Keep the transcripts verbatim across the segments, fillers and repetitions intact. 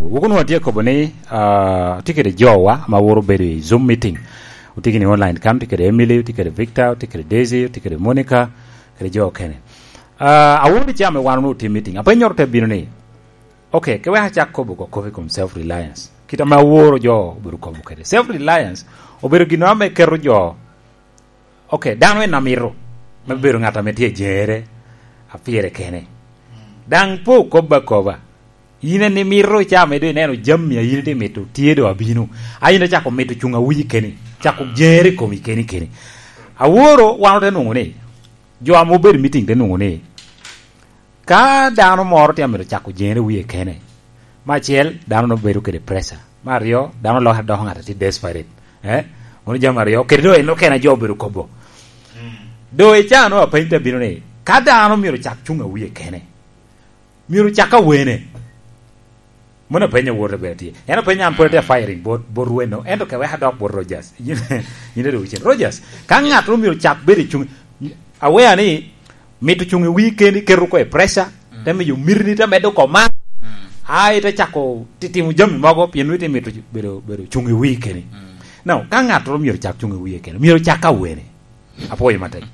Wok onwoŋo atye akobo ni, ah, atye kede jowa ma woro bedo i Zoom meeting. Otye gini online kan, otye kede Emily, otye kede Victor, otye kede Daisy, otye kede Monica, kede jo okene. Ah, aworo ni cam i wan onwoŋo tye meeting. Apenyoro te bino ni, ok, ke wek acak kobo oko kop i kom self reliance. Kit ame aworo jo obedo kobo kede. Self reliance obedo gino ame keto jo, ok, dano en amito me bedo ŋat ame tye ajeŋere, apire kene. Daŋ pe okobo akoba. In en imito ca ame doŋ ineno jami a in itye mito tye doŋ abino. A in icako mito cuŋ awiyi keni, cako jeŋere i komi keni keni. Aworo wan ote nwoŋo ni, jo ame obedo i meeting te nwoŋo ni, ka dano moro tye amito cako jeŋere wiye kene, me acel, dano nwoŋo bedo kede pressure. Me aryo, dano lokere doko ŋat a tye desperate. Eh? Mano jami aryo, kede doŋ en okene a jo obedo kobo. Doŋ i caa nwoŋo apeny te bino ni, ka dano myero cak cuŋ awiye kene, myero cak awene. Mano apenyo wot ber tye. En apenyo an pwod atye a firing bot, bot weno. Ento ke wek adok bot Rogers. Yin, yin ado wucen. Rogers, ka ŋat ru myero cak bedo i cuŋ, awea ni mito cuŋ i wii keni keto ko i pressure, te miyo mirni te medo oko man. Ai, te cako ti-, timo jami mogo, pien nwoŋo ite mito bedo, bedo cuŋ i wii keni. No, ka ŋat ru myero cak cuŋ i wii keni, myero cak awene. Apwoyo matek.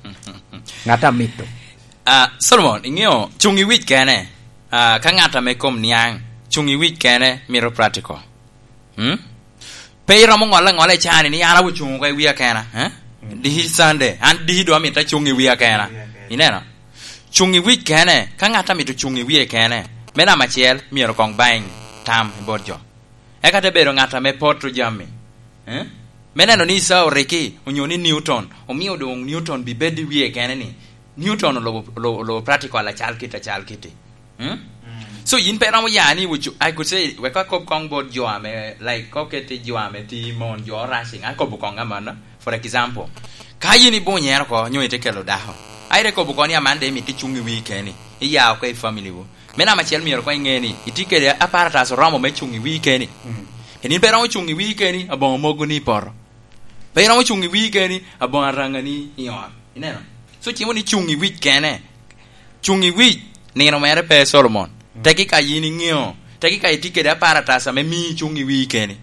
Ŋat amito. Ah, Solomon, iŋeo, cuŋ i wic kene. Ah, ka ŋat ame kom niaŋ, cuŋ i wic kene mito practical. Hmm? Pe iromo ŋolle aŋola i cani ni an awocuŋ oko i wia kena, eh? Diki Sunday, an diki doŋ amito acuŋ i wia kena. Ineno? Cuŋ i wic kene, ka ŋat amito cuŋ i wie kene, me namba acel, myero koŋ baŋ tam i bot jo. Eka te bedo ŋat ame poto jami. Eh? Me neno ni Isaiah Oriki onyo ni Newton, omio doŋ Newton bi bedo i wie kene ni, Newton olobo, olobo, olobo practical acal kite, acal kite. Hmm? So, yin pe romo ya ni, I could say, wek akob koŋ bot jo ame, like, koket i jo ame ti mon, jo rushing, akobo koŋ amanno. For example, ka yin ibunyere oko, nyo ite kelo dako, aire kobo koŋ ni aman de imito icuŋ i wii keni, iya oko i family wu. Me namba acel myero koŋ iŋe ni itye kede aparatas oromo me cuŋ i wii keni. Pien in pe iromo cuŋ i wii keni, aboŋo mogo ni i poto. Pe iromo cuŋ i wii keni, aboŋo araŋa ni i ot. Ineno? So, cimo ni cuŋ i wic kene. Cuŋ i wic, nino mere pe Solomon. Teki ka yin iŋeo, teki ka itye kede aparatas ame mii icuŋ i wii keni.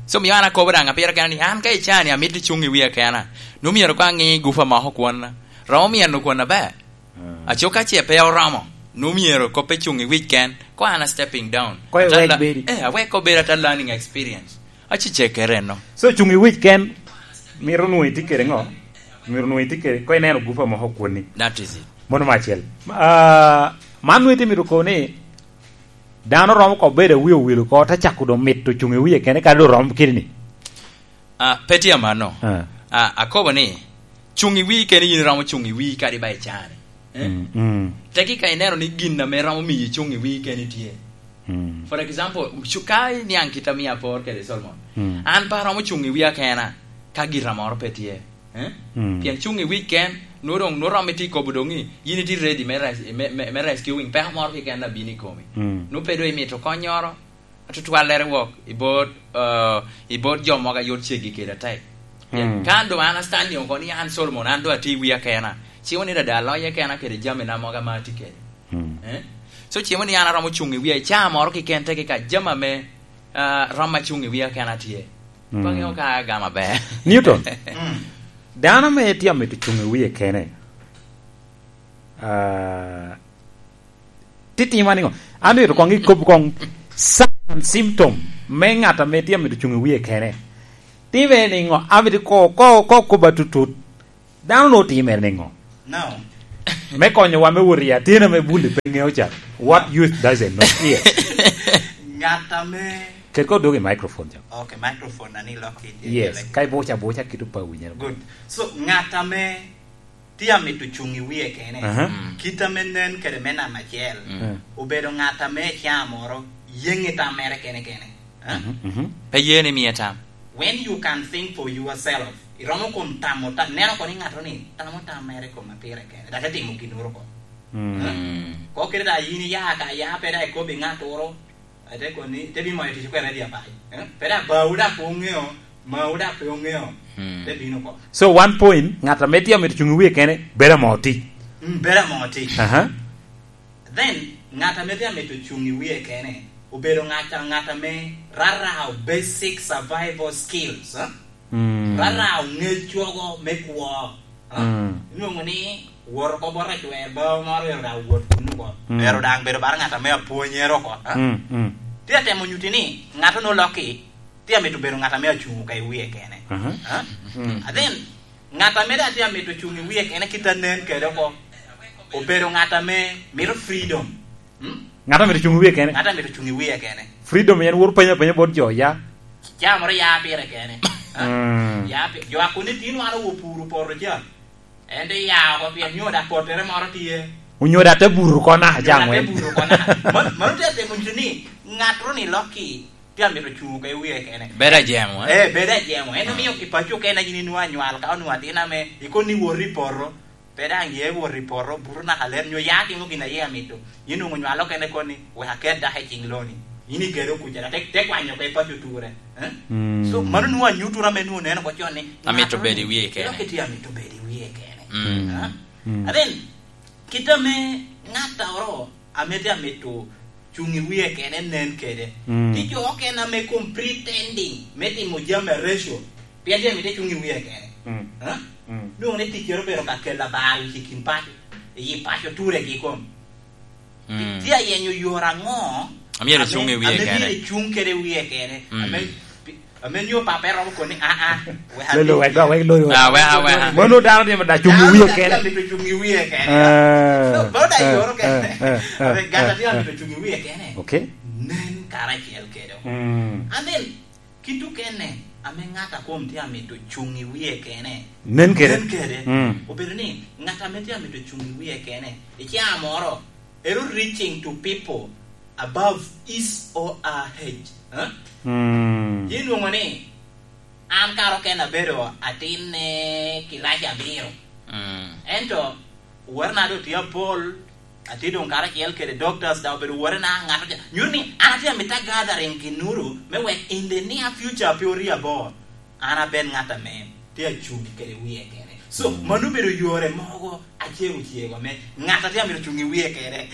So, mio an akobo daŋ apira kena ni, an ka i cani amito icuŋ i wia kena, nwoŋo myero koŋ aŋi gufa moko kwonna. Romo myeno kwonna ber. Aco ka ce pe oromo, nwoŋo myero kop pe cuŋ i wic ken, ko an a stepping down. Ko iwek Ata la-, bedi. Eh, awek ko bedo ata learning experience. Aci ce kere no. So, cuŋ i wic ken, mito nwoŋo itye kede ŋo? Mito nwoŋo itye kede, ko ineno gufa moko kwonni. That is it. Mono me acel. Ah, man nwoŋo itye mito kobo ni, dano romo ko bedo awi owil oko, te cako doŋ mito cuŋ i wie kene, kadi doŋ romo kidi ni. Ah, pe tye amanno. Ah. Ah, akobo ni, cuŋ i wii keni, yin iromo cuŋ i wii kadi ba i cani. Eh? Mm, mm. Teki ka ineno ni gin ame romo miyi cuŋ i wii keni tye. Mm. For example, cu-, ka iniaŋ kit a mia apor kede Solomon, mm, an pe aromo cuŋ i wia kena ka gira moro pe tye. Eh? Mm. Pien cuŋ i wic ken, nwoŋo doŋ, nwoŋo romo itye kobo doŋ ni, yin itye ready me res-, me, me, me rescuing, peko moro keken abino i komi. Mm. Nwoŋo pe doŋ imito konnyoro, atutwallere wok i bot, eh, i bot jo mogo a yot ceggi kede atek. Pien mm, ka an doŋ an a standing oko ni an Solomon, an doŋ atye i wia kena, ci wun ni dada aloye kena kede jamina mogo ame atye kede. Mm. Eh? So, cimo ni an aromo cuŋ i wia i caa moro keken teke ka jami ame, ah, rom acuŋ i wia kena tye. Mm. Pe aŋeo ka agamo aber. Newton, mm, dano ame tye amito cuŋ i wie kene, ah, titimo niŋo? An myero koŋ ikob koŋ sign and symptom me ŋat ame tye amito cuŋ i wie kene. Time niŋo? Amito ko, ko, ko koba tutut. Dano nwoŋo timere niŋo? Now, me konyowa me wot i atin ame bulli pe ŋeo ca. What youth doesn't know. Yes. Ŋat ame ket ko dwogo i microphone ca. Okay, microphone na ni lok i, yes, ka ibuca buca kito pa winyere. Good. So, ŋat ame tye amito cuŋ i wie kene, aha, mm, kit ame nen kede me namba acel, mm, obedo ŋat ame i caa moro yeŋe tam mere kene kene. Eh? Mhm, mhm. Pe ye ni mie tam. When you can think for yourself, iromo kom tamo tam, neno kono i ŋato ni tamo tam mere kom a pire kene, dok etimo ginnoro ko. Mm. Eh? Ko kede da yin iya ka ya, pe da ikobo i ŋattoro, ate koni, te bi moyo tic kwene di abai. Eh? Pe da bawu da pe oŋeo, mawu da pe oŋeo, mm, te bino ko. So, one point, ŋat ame tye amito cuŋ i wie kene, bedo amo tic. Mm, bedo amo tic. Aha. Then, ŋat ame tye amito cuŋ i wie kene, Obedo ŋat, ŋat ame rarao basic survival skills, eh? Mm. Rarao ŋec cogo me kwo, eh? Mm. Inwoŋo ni wot oko bot acwer bao moro, ero daŋ wot kun oko. Mm. Ero daŋ bedo bala ŋat ame apwonyere oko, eh? Mm, mm. Tye atemo nyuti ni ŋat onwoŋo lokki, tye amito bedo ŋat ame acuŋ ka i wie kene. Aha. Eh? Mm. And then, ŋat ame daŋ tye amito cuŋ i wie kene kit anen kede oko, obedo ŋat ame mito freedom. Hmm? Ŋat amito cuŋ i wie kene. Ŋat amito cuŋ i wie kene. Freedom en wot penyo apenya bot jo, ya. Ca moro ya pire kene. Ha? Mm. Ya pi-, jo a kun itino wan owo puro poto ca. En te ya oko pien nyo dak pottere moro tye. Onyo dak te buru kona, Onyo dak te buru kona. Man, man te temo nyuto ni ŋat ru ni lokki tye amito cuŋ oko i wie kene. Bedo ajemo, eh? Eh, bedo ajemo. En omiyo i paco kena yin inwoŋo anywal ka onwoŋo atin ame ikoni wot i poto. Pe daŋ ye wot i poto, buto naka ler, nyo ya timo gin a ye amito. Yin onwoŋo nywalo kene koni, wek aket dako i ciŋ loni. Yin ikedo kuca, te, te kwanyo oko i paco ture. Eh? Mm. So, mano nwoŋo anyutura ame nwoŋo neno oko con ni, Amito ŋat bedo i wie kene. Dok itye amito bedo i wie kene. Mm. Eh? Mm. And then, kit ame ŋattoro ame tye amito cuŋ i wie kene nen kede. Mm. Tye jo okene ame kom pretending me timo jami areco, pien tye amito cuŋ i wie kene. Mm. Ha? Mm. Nwoŋo ni ticcere obedo ka kelo abar wic i kin paco, i paco turegi kom. Mm. Tye ayenyo yore aŋo Amyero ame, cuŋ i wie ame kene. myero cuŋ kede wie kene? Mm. Ame Pi-, ame nyo papa eromo koni, "Ah, ah, wek Lolo, abin wek, wek, lolo. Ah, wek, ah, wek, ah. Mono dano tye ma da cuŋ i wie kene. Dano tye ma cuŋ i wie kene." Ah, So, mono da ah, yoro kene. ah, ah, Ame gat ah, atye ah. amito cuŋ i wie kene. Okay. Nen karacel kede. Mm. And then, kit okene, ame ŋat a kom tye amito cuŋ i wie kene. Nen kede. Nen kede. Mm. Obedo ni, ŋat ame tye amito cuŋ i wie kene, i caa moro, ero reaching to people above his or her age. Huh? Mm. Yin nwoŋo ni, an kara okene abedo atinne kilaci abiro. Mm. Ento, wotena doŋ tye apol, atye doŋ karacel kede doctors, daŋ obedo wotena, ŋat oca-, nyuto ni an atye amito gathering kinuru, me wek in the near future pe ori abor. An aben ŋat ame tye acuŋ kede wie kene. So, mm, mano obedo yore mogo acego cego ame ŋat a tye amito cuŋ i wie kene,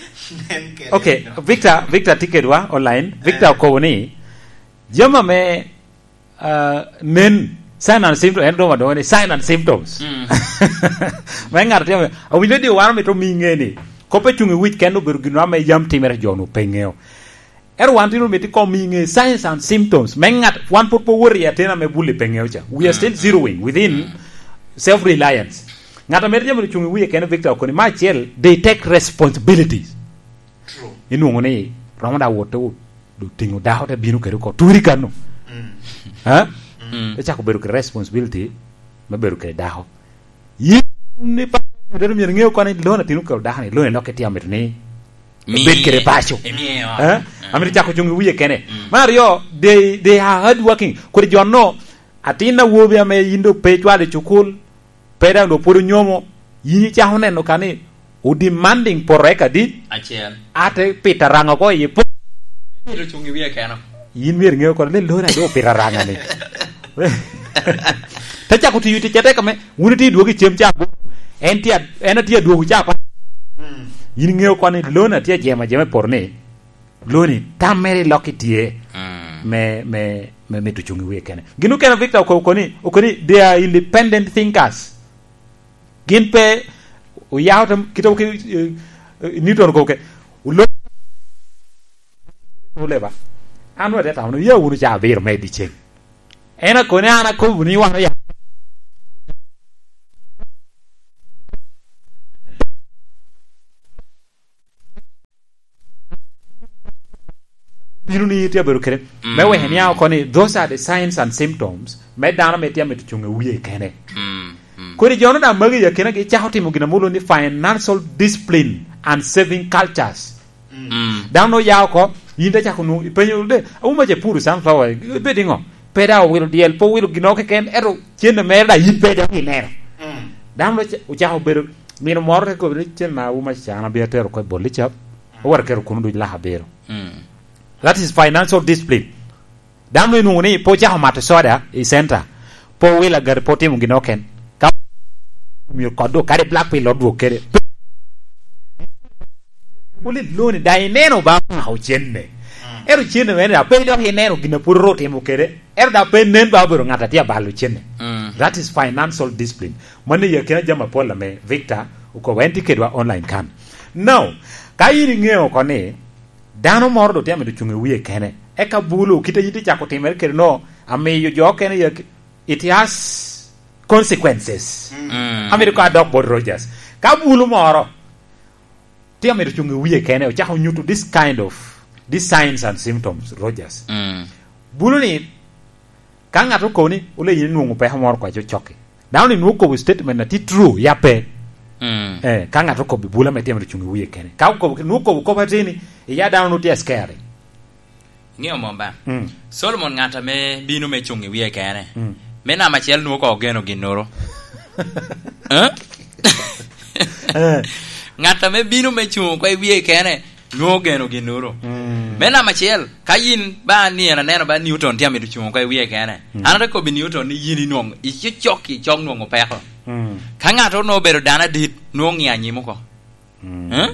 nen kede. Okay, Victor, Victor tye kedwa online. Victor, eh, okobo ni, jami ame, ah, nen, sign and symptoms, en doŋ adongo ni sign and symptoms. Mm. Me ŋat a tye ame, awinyo ni wan omito omi ŋe ni, kop me cuŋ i wic kene obedo gin ame yam timere jo-nu pe ŋeo. Ento wan tye omito kom i ŋe signs and symptoms me ŋat, wan pwod pe owoto i ateni ame bulle pe ŋeo ca. We are still zeroing within self-reliance. Ŋat ame tye amito cuŋ i wie kene, Victor okoni, me acel, they take responsibilities. True. Inwoŋo ni romo da wotte o-, otiŋo dako te bino kede oko, turi kano. Mm. Ha? Mm. Te cako bedo kede responsibility me bedo kede dako. Yin ni pa, myero iŋe oko ni lon a tino kelo dako ni, lon i lok itye amito ni Miye. Bed kede paco. Miye, eh? Eh? Amito cako cuŋ i wie kene. Mm. Me aryo, they, they are hard working. Kodi jo-nu, atin awobi ame yin doŋ pe icwalo i cukul, pe daŋ doŋ pwod onyomo, yin icako neno ka ni o demanding poto eka dit? Acel. Ate pito araŋa oko i po-, Myero cuŋ i wie keno. Yin myero iŋe oko ni lon a doŋ opito araŋa ni. Te cako tiyo tic atek ame, wun itye idwogo i cem ca aboro. En tye a-, en atye adwogo ca apar. Mm. Yin iŋeo kono ni lon a tye ajemo ajema i poto ni, loni tam mere i lok itye Mm. me, me, me mito cuŋ i wie kene. Gin okene Victor oko-, okoni, okoni, they are independent thinkers. Gin pe oyao tem, kite oke, eh, eh, Newton okobo ke, ulo-, uleba. An wede tamo ni, ya wunu ca abiro me i dyeceng. En akoni, an akobo ni wan oya. Bino ni tye abedo kede. Mm. Me weko ni oko ni, those are the signs and symptoms me dano me tye amito cuŋ i wie kene. Mm, mm. Kodi jo-nu daŋ magi i akinagi cako timo gin ame olwoŋo ni financial discipline and saving cultures. Mm. Dano oya oko, yin te cako nwoŋo, ipenyo, "De, Awuma ce puro sunflower, ibed iŋo?" Pe daŋ owilo dyel, pe owilo gin keken, ento cente mere daŋ yin pe daŋ ineno. Mm. Dano oca-, ocako bedo, mino moro te kobo ni, "Cen ma Awuma ca an abino atero oko i bol licap, owoto aketo kuno duc laka abiro." Mm. That is financial discipline. Dano inwoŋo ni pe ocako mato soda i center, pe owilo agati, pe otimo gin oken. Ka omio kod dok kadi black pill odwok kede. Wuli loni, daŋ ineno ba omako cenne. Mm. Ero cene mere, pe dok ineno gin a pwod ru timo kede. Ero da pe nen ba obedo ŋat a tye abalo cene. Mm. That is financial discipline. Mano i akina jami apol ame Victor okobo, en tye kedwa online kan. Now, ka in iŋeo oko ni dano moro do tye amito cuŋ i wie kene, eka bulu, kite yin tye cako timere kede no, amiyo jo okene i ak-, it has consequences. Mm. Amito ko adok bot Rogers. Ka bulu moro tye amito cuŋ i wie kene, ocako nyuto this kind of, these signs and symptoms, Rogers. Mm. Bulu ni, ka ŋat okobo ni, "Ole yin inwoŋo peko moro kwa cocokki." Dano ni nwoŋo kobo statement na tye true, ya pe? Mm. Eh, ka ŋat okobo bulu ame tye amito cuŋ i wie kene. Ka okobo, nwoŋo kobo kop ateni, iya dano nwoŋo tye scared. Ŋeo mom ba? Mm. Solomon ŋat ame bino me cuŋ i wie kene. Mm. Me namba acel nwoŋo ko ogeno ginnoro. Eh? Eh. Ŋat ame bino me cuŋ oko i wie kene, nwoŋo ogeno ginnoro. Mm. Me namba acel, ka yin ba ni en aneno ba Newton tye amito cuŋ oko i wie kene, mm, an ate kobbi Newton ni yin inwoŋo, icocok i cok nwoŋo peko. Mm. Ka ŋat onwoŋo obedo dano adit, nwoŋo ŋiyo anyim oko. Mm. Eh?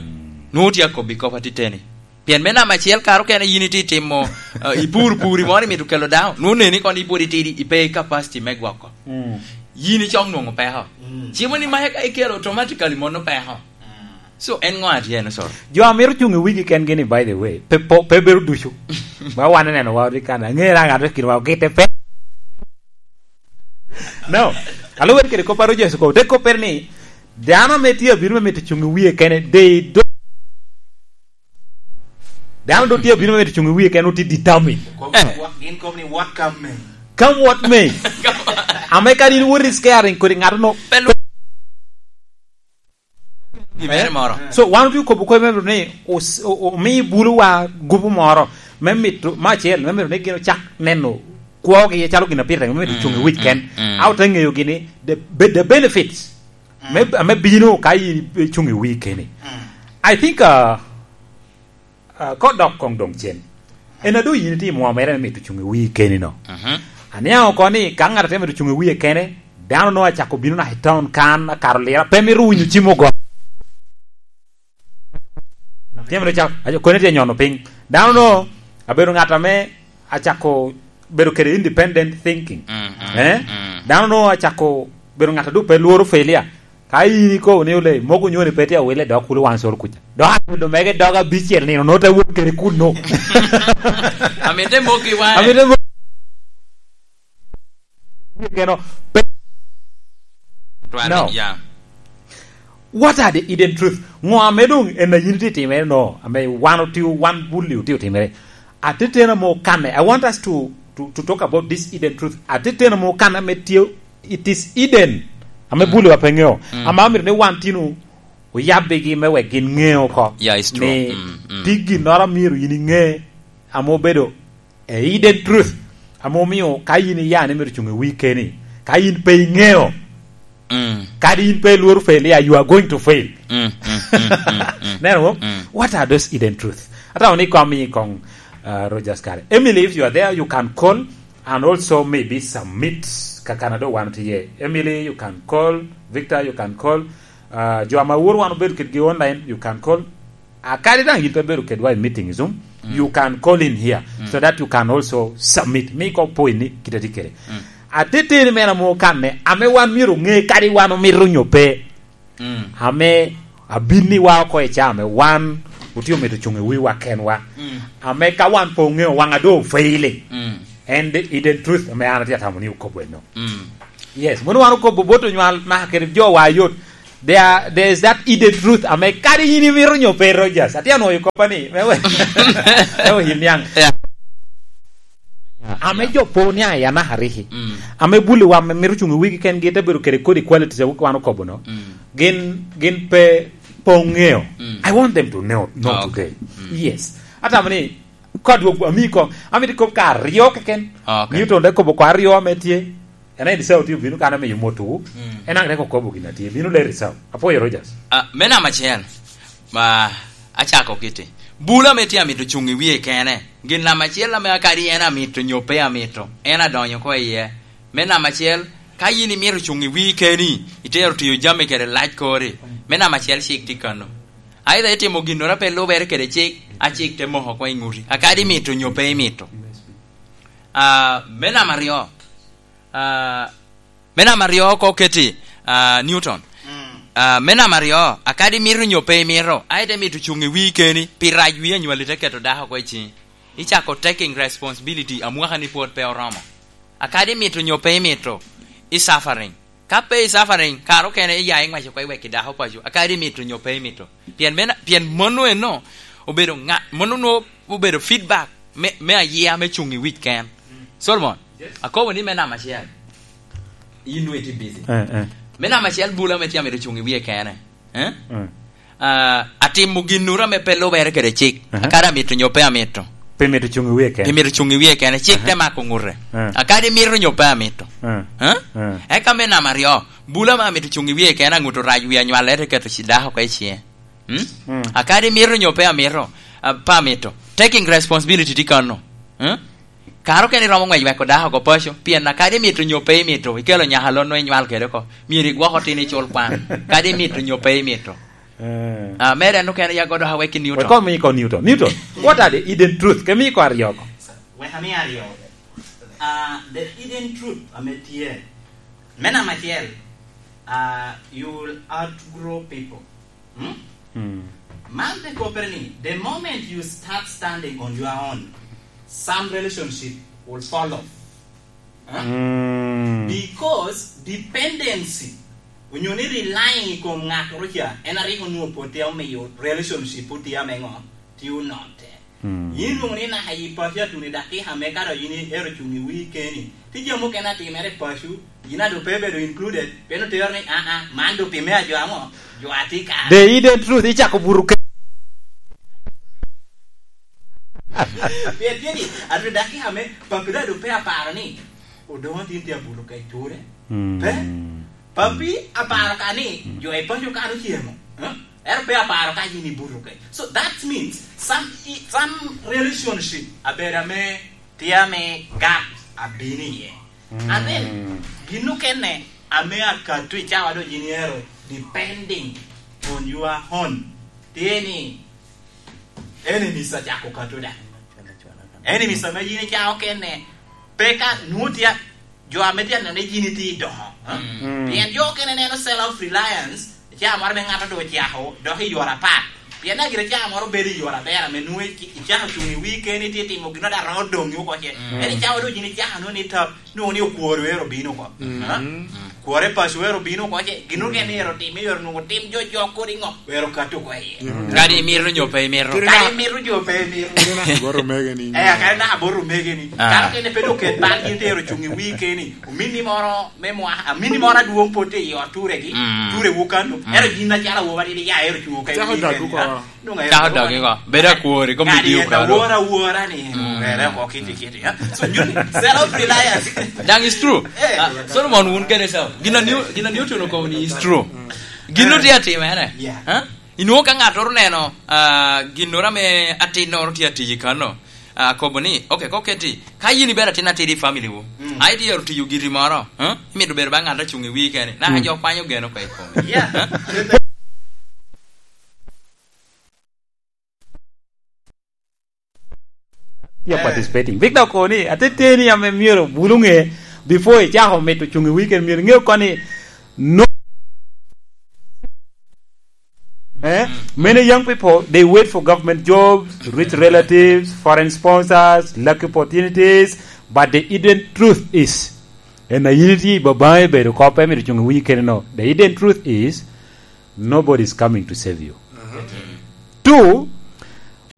Nwoŋo tye akobbi kop atiteni. Pien me namba acel, kare okene yin itye timo, eh, ipur puri moro imito kelo dano, nwoŋo neni kono ipwod itidi, ipe i capacity me gwoko. Mm. Yin icok nwoŋo peko. Mm. Cimo ni mae ka ikelo automatically mono peko. Mm. So, en ŋo atye en, sorry? Jo a mito cuŋ i wigi kengi ni, by the way, pe po-, pe bedo ducu. Ba wan eneno wa odi kan, aŋera ŋat me kinwa ogite pe. No. Alubere kede kop a Rogers okobo. Te koppere ni, dano ame tye abino me mito cuŋ i wie kene, they don't, dano do tye abino me mito cuŋ i wie kene, otye determined. Kom ni, eh, what, gin kom ni, "What come may." Come what may. Ame kadi in wot is caring kodi ŋat no. Pe lu-, gimere moro. So, wan otye kobo kop me ni, os-, o-, o-, omi bulu wa gupu moro, me mito, me acel, me mito ni gin ocak neno kwogi acalo gin a pire, me mito cuŋ i wic ken. Mm. A ote ŋeyo gini, the, be-, the benefits. Mm. Me, ame bino ka in icuŋ i wii keni. Mm. I think, uh, uh, ko dok koŋ doŋ cen. En a doŋ yin itimo mere me mito cuŋ i wii keni no. Mhm. Aniaŋ oko ni ka ŋat atye mito cuŋ i wie kene, dano no acako bino naka i town kan, akato lira, pe mito winyo cim ogo. Tye mere ca-, aco-, kone tye nyono piny. Dano no abedo ŋat ame acako bedo kede independent thinking. Mm, mm, eh? Mm. Dano no acako bedo ŋat a doŋ pe lworo failure. Ka in ikobo ni ole, mogo nyoni pe tye awile dok kulo wan soro kuca. Dok abedo mege dog abicel nino, no te wok kede kuno. Amite mogi wan. Amite mo-, Geno pe-, twal, no. Yeah. What are the hidden truth? Ŋo ame doŋ en a yin itye timere no, ame wan otio, wan bulli otio timere? Atetena mo kanne. I want us to, to, to talk about this hidden truth. Atetena mo kanne ame tye, it is hidden. Ame, mm, bulli wa pe ŋeo. Mm. Ame amito ni wan tino oyabbigi me wek gin ŋe oko. Yeah, it's true. Ni, mm, mm, tye ginnoro a myero yin iŋe ame obedo a hidden truth, ame omio ka yin iya ni myero cuŋ i wii keni, ka yin pe iŋeo, mm, kadi yin pe ilworo failure, you are going to fail. Mm, mm, mm, mm, mm. Neno, mm, what are those hidden truth? Atamo ni kom i koŋ, uh, Rogers kare. Emily, if you are there, you can call and also maybe submit. Ka Canada wan tye. Emily, you can call. Victor, you can call. Uh, jo ama woro wan obedo kedgi online, you can call. A kadi daŋ yin pe bedo kedwa i meeting Zoom, mm, you can call in here, mm, so that you can also submit. Mi ko point ni kite tye kede. Mm. Ateteni mera mo kanne, ame wan myero oŋe kadi wan omito nyo pe. Mm. Ame abinni wa oko i caa ame wan otye omito cuŋ i wiwa kenwa. Mm. Ame ka wan pe oŋeo, waŋ a doŋ ofailing. Mm. And the hidden truth ame an atye atamo ni okobo eno. Mm. Yes, mono wan okobo bot onywal naka kede jo wa yot. There, there is that hidden truth ame kadi yin imito nyo pe, Rogers. Atye anwoyo koppa ni, me we, me we yin niaŋ. Yeah. Ame jo po niaŋ i anaka riki. Mm. Ame bulli wa ame mito cuŋ i wigi kengi te bedo kede kodi qualities a wan okobo no. Mm. Gin, gin pe, pe oŋeo. Mm. I want them to know, know today. Ah, okay. Mm. Yes. Atamo ni, ka dwog ami kom, amito kop ka aryo keken. Ah, okay. Newton te kobo ko aryo ame tye. En aye Esau tye obino kan amiyo motowu. Mm. En aŋ tek okobo gin a tye. Bino ler Esau. Apwoyo Rogers. Ah, me namba acel, ma acako kiti. Bula ame tye amito cuŋ i wie kene. Gin namba acel ame akadi en amito nyo pe amito, en adonyo ko iye. Me namba acel, ka yin imito cuŋ i wii keni, itero tiyo jami kede lac kori. Me namba acel, cik tye kano. Aidha itimo ginnoro a pe lubere kede cik, Acik te moko oko i ŋuti. Akadi imito nyo pe imito. Ah, me namba aryo. Ah, me namba aryo oko keti, ah, Newton. Mm. Ah, me namba aryo, akadi imito nyo pe imito, aye te mito cuŋ i wii keni, pi rac wii anywali te keto dako oko i ciŋi. Icako taking responsibility, amwaka ni pwod pe oromo. Akadi imito nyo pe imito, i suffering. Ka pe i suffering, kare okene iya i ŋwac oko i wek i dako paco, akadi imito nyo pe imito. Pien me na-, pien mano eno obedo ŋa-, mano nwo obedo feedback me, me ayia me cuŋ i wic ken. Solomon, yes, akobo ni me namba acel, yin nwo itye busy. Eh, eh. Me namba acel, bula ame tye amito cuŋ i wie kene. Eh? Mm. Ah, atimo ginnoro ame pe lubere kede cik. Aha. Akadi amito nyo pe amito. Pe mito cuŋ i wie kene. Pe mito cuŋ i wie kene. Cik, aha, te mako ŋute. Ah. Akadi mito nyo pe amito. Ah. Eh? Ah. Eka me namba aryo, bula ame amito cuŋ i wie kene, aŋuto rac wi anywalere te keto ci-, dako oko i ciŋe. Hmm? Mm. Akadi mito nyo pe amito, ah, pe amito. Taking responsibility tye kano. Hmm? Kare okene iromo ŋwec weko dako oko paco, pien akadi imito nyo pe imito, ikelo nyaka lon nwo inywal kede oko, myero igwok otino icul kwan, kadi imito nyo pe imito. Eh. Ah, mere en okene ya godo awek i Newton. Wek omi iko Newton. Newton, what are the hidden truth? Ke mi iko aryo oko. Wek ami aryo. Ah, the hidden truth ame tye. Me namba acel, ah, you will outgrow people. Hmm? Hmm. Man te koppere ni, the moment you start standing on your own, some relationship will fall off. Huh? Hmm. Because dependency, onyo ni relying i kom ŋattoro ca, en a rik onwoŋo pwod tye omiyo relationship pwod tye ame ŋo? Tye onotte. Mm. Yin ilwoŋo ni naka i paco atuni dakika me ka dok yin ero cuŋ i wii keni. Tye jami mukene atimere i paco, yin a doŋ pe ibedo included, pien otero ni, "Ah, ah, man doŋ pi me ajo aŋo? Jo atye ka." The hidden truth, icako buto ke- Pien tye ni, atuni dakika me papi dok doŋ pe aparo ni, odoŋo tin tye abuto kec ture. Mm. Pe? Papi aparo ka ni, mm, jo i paco kan ocemo, eh? Ento pe aparo ka yin ibuto kec. So that means some, i-, some relationship abedo ame tye ame gap abino iye. Mm. And then, gin okene ame akato i cawa dong yin iero depending on your own. Tye ni, enemies acako kato da. Enemies ame yin icako kene, pe ka nwoŋo tye a-, jo ame tye aneno ni yin itye i doŋo, ha? Mm. Mm. Pien jo okene neno self reliance, icaa moro ame ŋato doŋ ocako, dok i yore apat. Pien daŋ gire icaa moro bedo i yore aber ame nwoŋo ic-, icako cuŋ i wii keni, itye timo gin daŋ roŋo doŋi oko ce. Mm. Ento icaa doŋ yin icako nwoŋo ni tap, nwoŋo ni okwor wero obino oko. Mm. Ha? Mm. Kwore paco wero obino oko ce, gin okene ero tim, ero nwoŋo tim jo, jo kodi ŋo, wero kato oko iye. Mm. Kadi imito nyo pe imito. Kadi na- imito nyo pe imito. Kadi na aboro mege ni. Eh, kadi na aboro mege ni. Ah. Kadi kene pe doŋ ket bal gin te ero cuŋ i wii keni. Omini moro me mwa-, amini moro adwoŋ pwod tye i ot turegi, mm, turewu kano. Mm. Ero yin acalo awobi adidi ya ero cuŋ oko i wii keni, ha? Cako dogi oko. Bedo akwori, kombeddi okalo. Kadi en awora awora ni, mm, were oko kiti kiti, ha? So, nyuto self reliance. Daŋ is true. Eh. Ah, Solomon wun kede so. Gin a New-, gin a Newton okobo ni is true. Mm. Gin otye atimere. Yeah. Ha? Inwoŋo ka ŋattoro oneno, ah, ginnoro ame atinnoro tye atic i kano, ah, kobo ni, "Ok, kok keti, ka yin ibedo atin atidi i family wu, mm, a itye ero tiyo giri moro, ha? Imito bedo ba ŋat acuŋ i wii kene, naka, mm, jo kwanyo geno oko i komi." Yeah. Ha? Tye, eh, participating. Victor okoni, ateteni ame myero bulu ŋe before icako mito cuŋ i weekend, myero iŋe oko ni no. Eh? Mm. Many young people, they wait for government jobs, rich relatives, foreign sponsors, lucky opportunities, but the hidden truth is, en a yin itye i babaŋi bedo kop pe myero cuŋ i weekend no. The hidden truth is, nobody is coming to save you. Mhm. Two,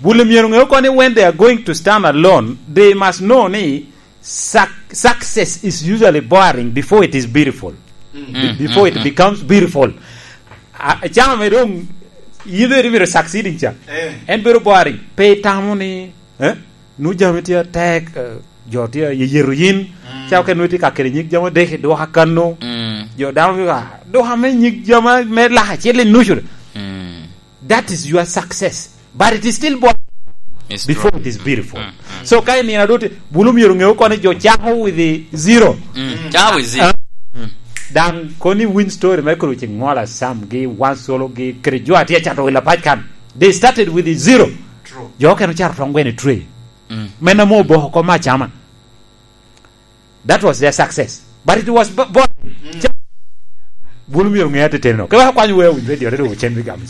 bulu myero ŋe oko ni when they are going to stand alone, they must know ni suc-, success is usually boring before it is beautiful. Mm. Be-, before it, mm, mm, becomes beautiful. A, cama me dong, yin dong imito succeeding ca. Eh. En bedo boring. Pe itamo ni, eh? Nu jami tye atek, eh, jo tye ayeyeto yin. Mm. Ca okene nu tye ka kelo nyig jami odek i duka kano. Mm. Jo dano bino ka, "Duka me nyig jami me lak acel i nucu." Mm. That is your success. But it is still bo-, it's before true. It is beautiful. Mm, mm. So, ka i nino adoti, bulu myero ŋe oko ni jo cako with the zero. Mm, cako with zero. Ah. Mm. Daŋ koni win story me kuru ci ŋola Sam gi Wan Solo gi kede jo atye acato wila pac kan. They started with the zero. True. Jo okene ocato tong gweno i tray. Mm. Men ame oboko oko me acama. That was their success. But it was bo-, bo-, mm, bulu myero ŋe ateteno. Ke wek akwanyo wea winy radio, radio, Cen Big Arms.